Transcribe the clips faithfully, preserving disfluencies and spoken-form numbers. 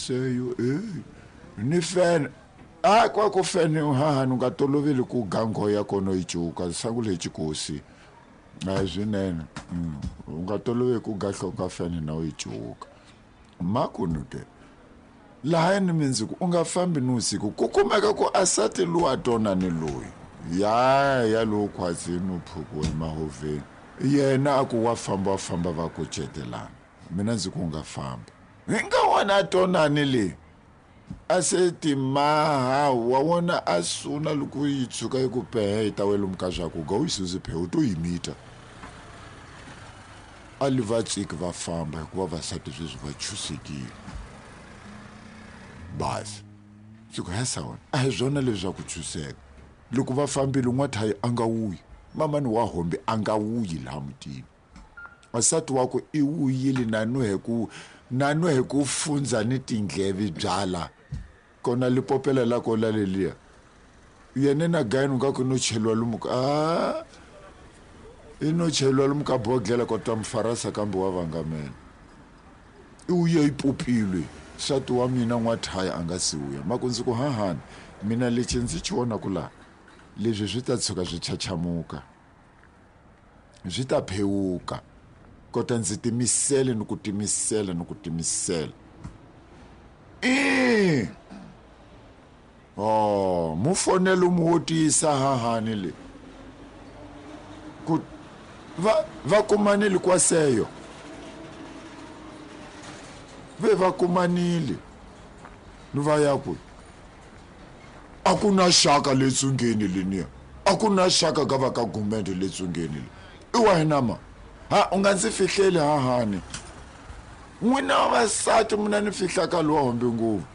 seyo eh ni fene a kwa ku fene ha ha nga toloveli ku gango ya kona yi cuka sangu leyi chikosi a swinene u nga toloveli ku gahloka fene na yi cuka makunu ke laha ni mindziku u nga fambi ni usiku ku kumeka ku asati luwa tona ni loyi ya ya lowu khwazini u phukiwe emahoveni yena a ku wa famba wa famba va ku cetelana mina ndzi ku nga famba hi nga wona tonani le a se timaha wa wona a suna loko yi tshuka yi ku pehe yi ta wela muka swa ku ga u yi susi phe u to yi mita a li va tsiki va famba hikuva vasati sweswi va chusekile basi ndzi ku hesa wena a hi swona leswaku chuseka loko va fambile n'wathayi a nga wuyi mamani wa hombi a nga wuyi laha mutini wasati wakwe i wuyile na ku na nwe ku fundza ni tindleve byala kona lipopela la ko la leliya yena na gayini nga ku no cheliwa lomu ka a i no cheliwa lomu ka bodlela kota mufarasa kambe wa vangamela i wuye yi popilwe nsati wa mina n'wathaya a nga si wuya maku ndzi ku hahani mina lexi ndzi xi vonaku laha leswi swi ta tshuka swi chachamuka swi ta phewuka kota ndzi timisele ni ku timisela ni ku timisela i oh mu fonela u mu wotisa hahani le ku va va kumanile kwaseyo ve va kumanile ni va ya kwi a ku na xaka le tsungeni leniya a ku na xaka ka va ka gumende le tsungeni le i wa hina ma ha u nga ndzi fihleli hahani n'wina vavasati mina ni fihlaka lowa hombe ngopfu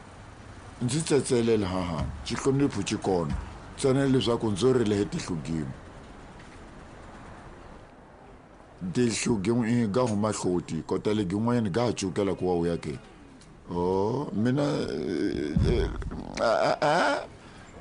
ndzi tsetselela hahani xihlonipho xi kona ntsena leswaku ndzo rila hi tihlo-gimo tihlo-gimo i ga huma hloti kota legi yin'wanyana ga ha cukela ku wa wuya ke o mina a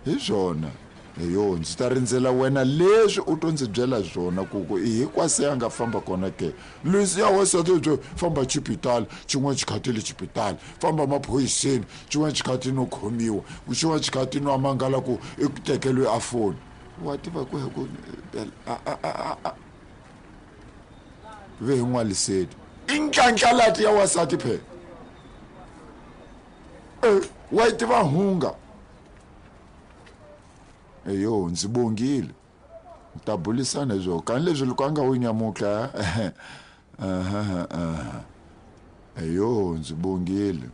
hi swona yo ndzi ta rindzela wena leswi u to ndzi byela swona ku ku i hinkwase a nga famba kona ke leswi ya wasati byo famba xipitali xin'wana xikhathi le xipitali famba maphoyiseni xin'wana xikhathi no khomiwa xin'wana xikhathi no amangala ku i ku tekeliwe a foni wa tiva ku ku ve hi n'waliseti i ntlantlhalati ya wasati phela e wa yi tiva hunga eyo ndzi bongile ta bulisana hi swona kani leswi loko a nga wu nyamutla eyo ndzi bongile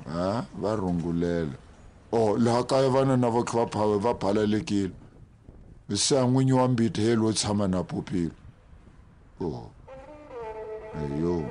a va rungulela o laha kaya vana na vo kha va va phalalekile se a n'winyi wa mbiti he lo tshama na popile o eyo.